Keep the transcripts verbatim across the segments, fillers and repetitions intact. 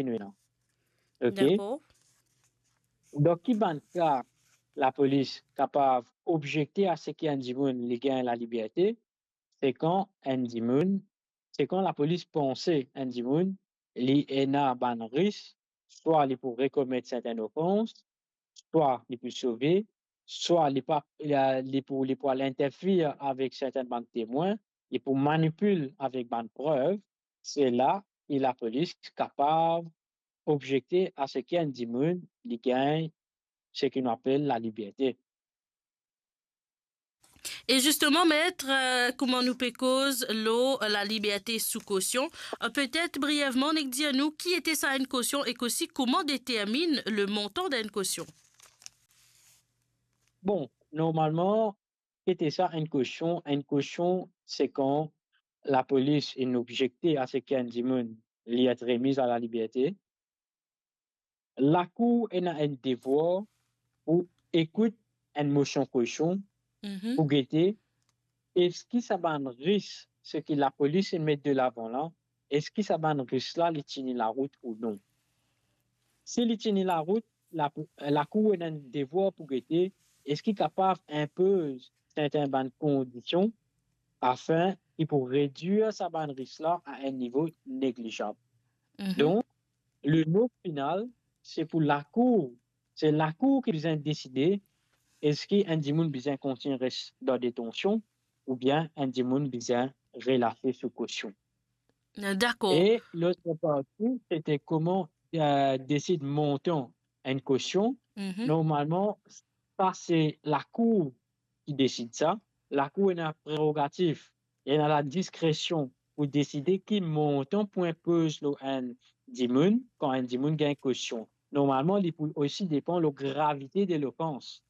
nou ena. Ok? Dakor. Dan ki bann ka lapolis kapav objekte a seki enn dimoun li gagn laliberte, se kan enn dimoun, se kan lapolis panse enn dimoun li ena bann ris, swa li pou rekomet sertenn ofans, swa li pou sove, swa li pa, li, li pou, li pou al interfer avek sertenn bann temwin, li pou manipil avek bann prev, se la ki lapolis kapav objekte a seki enn dimoun li gagn seki nou apel laliberte. E zisteman, met, eh, kouma nou pe koz lor laliberte sou kosion, eh, petet brievman, nek dir nou ki ete sa enn kosion ek osi kouma determinn le montan d'enn kosion? Bon, normalman, ki ete sa enn kosion? Enn kosion, se kan lapolis inn objekte a seki enn dimoun li et remiz a laliberte. Lakour ena enn devwar pou ekout enn mosion kosion, mhm, pou gete eski sa bann ris, seki lapolis inn met delavan la, eski sa bann ris la li tini larout ou non. Si li tini larout, la, lakour ena enn devwar pou gete eski kapav inpoz serten bann kondision afin ki pou redwir sa bann ris la a enn nivo neglizab. Mhm. Donk, le mo final, se pou lakour, se lakour ki bizin deside eski enn dimoun bizin kontign res dan detansion oubien enn dimoun bizin relase sou kosion. Dakor. E lot parti, se te kouma, eh, desid montan enn kosion. Mhm. Normalman, sa se lakour ki desid sa. Lakour ena prerogatif, ena ladiskresion pou deside ki montan pou inpoz lor enn dimoun kan enn dimoun gagn kosion. Normalman, li pou osi depan lor gravite de lofans.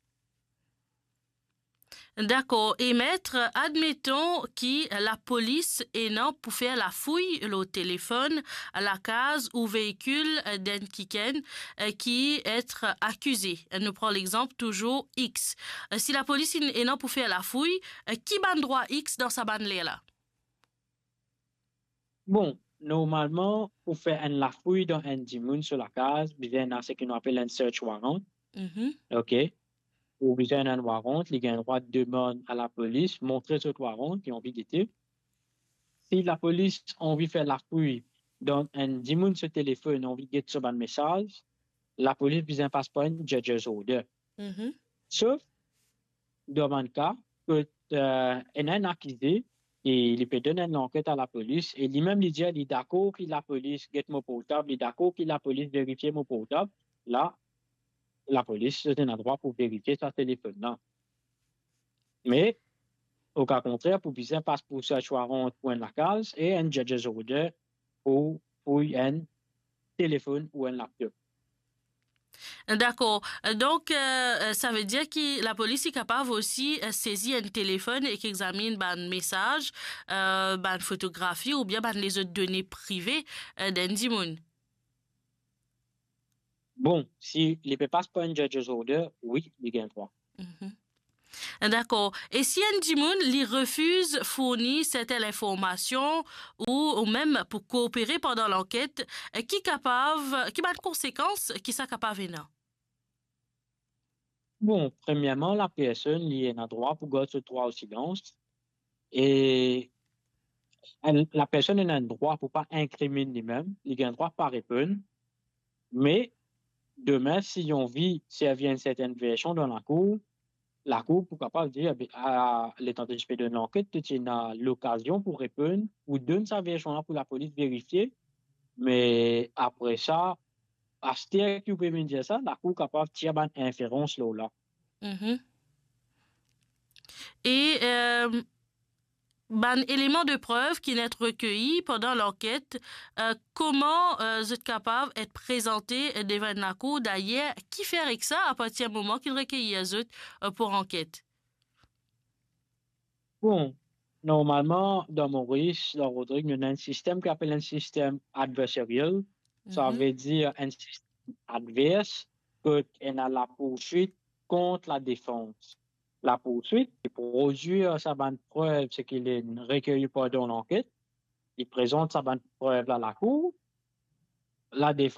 Dakor. E met, admeton ki lapolis ena pou fer lafouy lor telefonn, lakaz ou veikil, eh, d'enn kikenn, eh, ki et akize. Nou pran lexanp touzour X. Eh, si lapolis ena pou fer lafouy, eh, ki bann drwa X dan sa bann ler la? Bon, normalman, pou fer enn lafouy dan enn dimoun so lakaz, bizin ena seki nou apel enn search warrant. Mhm. Ok. Ou bizin enn warrant, li gagn drwa demann a lapolis montre zot warrant, li anvi gete. Si lapolis anvi fer lafouy dan enn dimoun so telefonn, anvi get so bann mesaz, lapolis bizin pas par enn judge's order. Mhm. Sof dan bann ka kot, eh, ena enn akize e li pe donn enn lanket a lapolis e limem li dir li dakor ki lapolis get mo portab, li dakor ki lapolis verifie mo portab, la, lapolis ena drwa pou verifie sa telefonn la. Me, o ka kontrer, pou bizin pas pou search warrant pou enn lakaz e enn judge's order pou, pou enn telefonn ou enn laptop. Dakor. Donk, eh, savedir ki lapolis li kapav osi, eh, sezi enn telefonn ek examinn bann mesaz, eh, bann fotografi oubien bann lezot done prive, eh, d'enn dimoun? Bon, si li pe pas par enn judge's order, wi, li gagn drwa. Mhm. Dakor. E si enn dimoun li refiz fourni serten linformasion ou, ou mem pou koopere pandan lanket, ki kapav, ki bann konsekans ki sa kapav ena? Bon, premierman, lapersonn li ena drwa pou gard so drwa o silans e enn, lapersonn ena enn drwa pou pa inkriminn limem, li gagn drwa pa reponn. Me, demin, si li anvi servi enn sertenn version dan lakour, lakour pou kapav dir, be, a, letan to ti pe donn lanket, to ti ena lokazion pou reponn, pou donn sa version la pou lapolis verifie. Me apre sa, aster ki ou pe vinn dir sa, lakour kapav tir bann inferans lor la. Mhm. E, eh, bann eleman de prev ki inn et rekeyi pandan lanket, eh, kouma, eh, zot kapav et prezante devan enn lakour? Dayer, ki fer ek sa apartir moman ki inn rekeyi zot, eh, pou anket? Bon, normalman, dan Moris, dan Rodrig, nou ena enn sistem ki apel enn sistem adversarial. Sa, mhm, vedir enn sistem advers, kot ena lapourswit kont ladefans. Lapourswit, li prodwir sa bann prev, seki li rekeyi pandan lanket, li prezant sa bann prev la lakour, ladefans